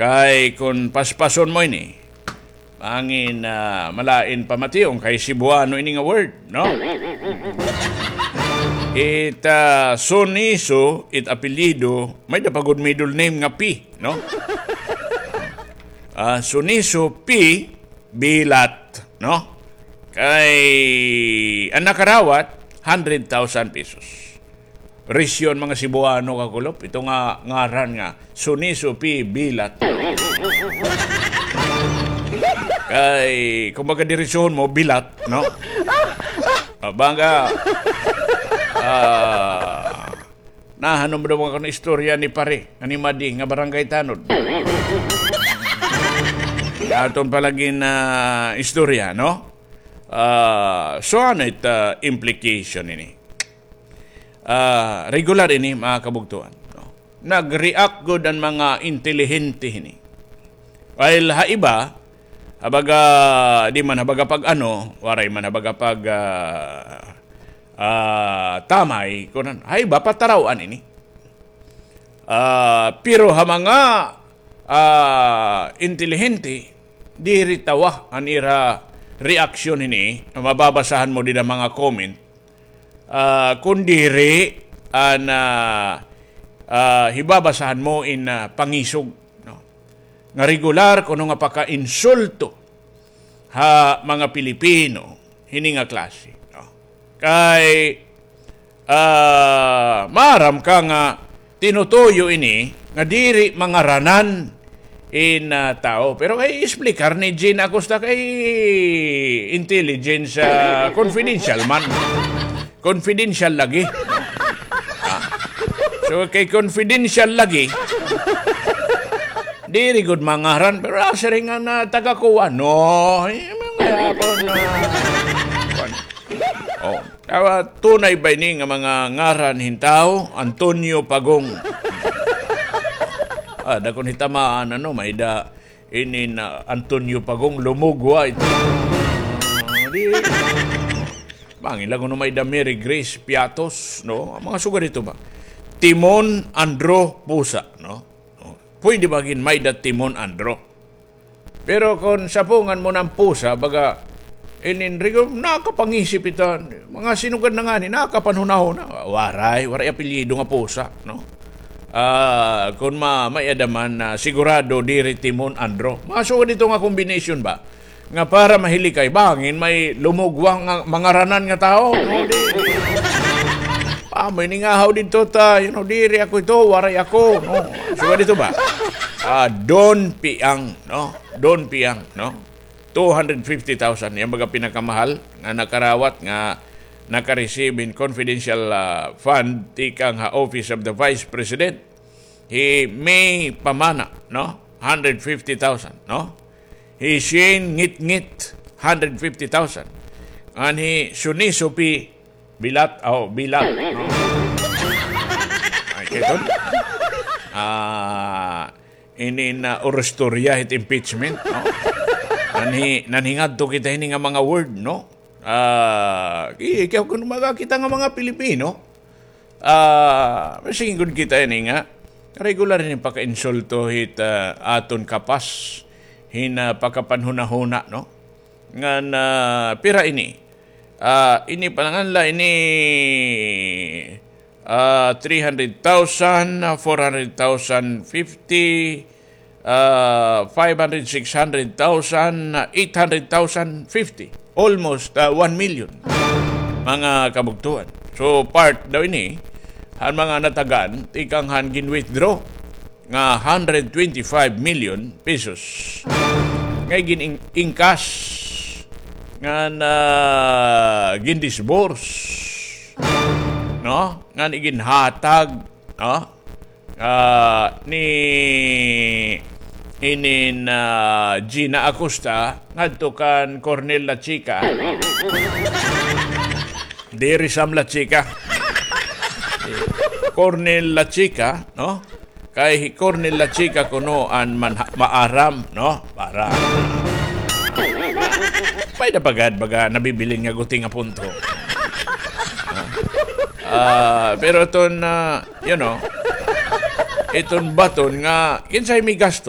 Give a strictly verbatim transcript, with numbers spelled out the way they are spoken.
Kay kon paspason mo ini, bangin, ah, malain pamation kay Cebuano ini nga word, no? It, ah, Suniso, it apelyido, may-ada pa gud middle name nga P, no? Ah, Suniso P Bilat, no? Kay an nakarawat, hundred thousand pesos. Risyo han mga Cebuano, kakulop, ito nga ngaran nga Suniso P Bilat. Kay, kumbaga, diretsohon mo, bilat, no? Ah, baga, ah, nahanom daw ako nga istorya ni pare, nga ni Madi, nga barangay tanod. Aton pa lagi nga istorya, no? Ah, so, ano it, ah, implication ini? Ah, regular ini, mga kabugtuan, no? Nag-react gud an mga intelihente hini. While ha iba, ha baga, di man ha baga pag-ano, waray man ha baga pag, ah, ah, tamay, kunan, ha iba, pataraw-an ini. Ah, pero ha mga, ah, intelihente, diri tawa an ira reaksyon hini, mababasahan mo dida mga comment, ah, kun diri an, ah, ah, hibabasahan mo in, ah, pangisog, no? Nga regular kuno nga pakainsulto ha mga Pilipino hini nga klase, no? Kay, ah, maaram ka nga tinutuyo ini nga diri mangaranan in, ah, tawo. Pero kay explicar ni Gina Acosta kay intelligence, ah, confidential man. Confidential lagi. Ah. So, kay confidential lagi, diri gud mangaran, pero, ah, siring nga na taga kuan, no? Ay, mga ako na, kuan. Oh, awa, tunay ba ini nga mga ngaran hin tawo? Antonio Pagong. Ah, dakon hitamaan, ano, may-ada ini na Antonio Pagong Lumugwa ito. Ah, di, bangin la kuno may-ada Mary Grace Piatos, no? Mga sugad ito ba? Timon Andro Pusa, no? Oh, pwede ba gin may-ada Timon Andro? Pero kon sapungan mo na an Pusa, baga, inin rigo, nakapangisip ito. Mga sinugad na ngani, nakapanhunahuna. Waray, waray apelyido nga Pusa, no? Ah, kon ma-, may-ada man, ah, sigurado diri Timon Andro. Mga sugad ito nga combination ba? Nga para mahilikay, bangin may Lumugwa nga mangaranan nga tawo, no? Di. Amo ini nga haw didto ta, you know, diri ako ito, waray ako, no? Sugad ito ba? Ah, Don Piang, no? Don Piang, no? Two hundred fifty thousand, yana baga pinakamahal nga nakarawat nga naka-receive hin confidential, ah, fund tikang ha Office of the Vice President. Hi May Pamana, no? Hundred fifty thousand, no? Hi Shane Ngitngit, hundred fifty thousand. An hi Suniso P Bilat, oh, Bilat, no? Ay, kay ton. Ah, ini na urustorya hit impeachment, no? Nanhi-, nanhingadto kita hini nga mga word, no? Ah, ki-, kaya kun mga kita nga mga Pilipino, ah, masingod kita ini nga regular ini pakainsulto hit, ah, aton kapas hin, ah, pakapanhunahuna, no? Ngan, ah, pira ini? Ah, ini pa la ngan la ini, ah, three hundred thousand, four hundred thousand fifty, ah, five hundred, six hundred thousand, eight hundred thousand fifty. Almost, ah, one million. Mga kabugtuan. So, part daw ini, han mga natagan, tikang han gin-withdraw nga hundred twenty-five million pesos. Nga gin-, in-, encash ngan, ah, gin-disburse, no? Ngan iginhatag, no? Ah, ni inin, ah, Gina Acosta ngadto kan Colonel Lachica. Diri Sam Lachica. Colonel Lachica, no? Kay hi Colonel Lachica kuno an man-, maaram, no? Maaram. May napagad baga nabibilin nga guti nga punto. Ah, pero iton, ah, you know, iton baton nga, kinsay may gasto?